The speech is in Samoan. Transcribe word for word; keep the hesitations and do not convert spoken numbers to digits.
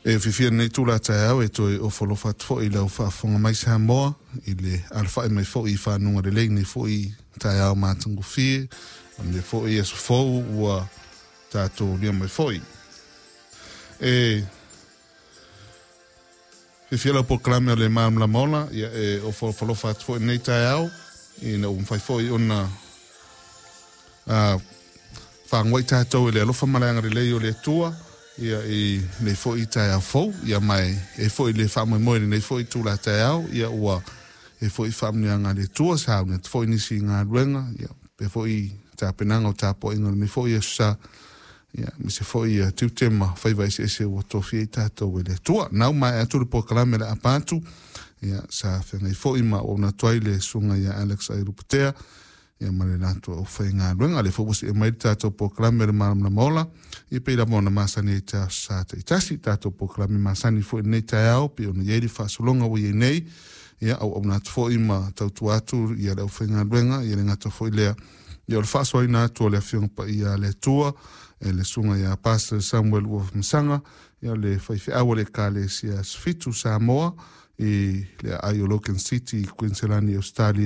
E fiafia i lenei itula taeao e toe ofo alofa atu foi i lau faafofoga mai Samoa i le alafai mai foi i fanuga lelei nei foi taeao matagofie o lenei foi aso fou ua tatou lia mai foi. E fiafia lau polokalame o le Malamalama Ola, ia e ofo alofa atu foi i lenei taeao ina ua mafai foi ona a fagoai tatou i le alofa ma le agalelei o le Atua ia i lenei foi taeao fou, ia mai e foi le faamoemoe i lenei foi itula taeao, ia ua e foi faamanuiaga a le Atua sauni atu foi nisi galuega, ia pe foi tapenaga o tapuaiga o lenei foi aso sa, ia aemaise foi ia tiute ma faiva eseese ua tofia ai tatou e le Atua. Nau maea atu le polokalame le apa atu, ia sa feagai foi ma auauna atu ai le susuga ia Alex Ailupatea, ia ma le latou aufaigaluega. Le foi ua see mai le tatou polokalame o le Malamalama Ola, ia pei lava ona masani ai ta sa taitasi, tatou polokalame masani foi i lenei taeao, pei ona i ai le faasologa ua i ai nei, ia auauna atu foi ma tautua atu ia le aufaigaluega, ia le gata foi lea, ia o le faasoaina atu o le Afioga Paia a le Atua, e le susuga ia Pastor Samuel Uafamesaga, ia le faifeau o le Ekalesia Asofitu Samoa, i le aai o Logan City, Kuiniselani, Ausetalia.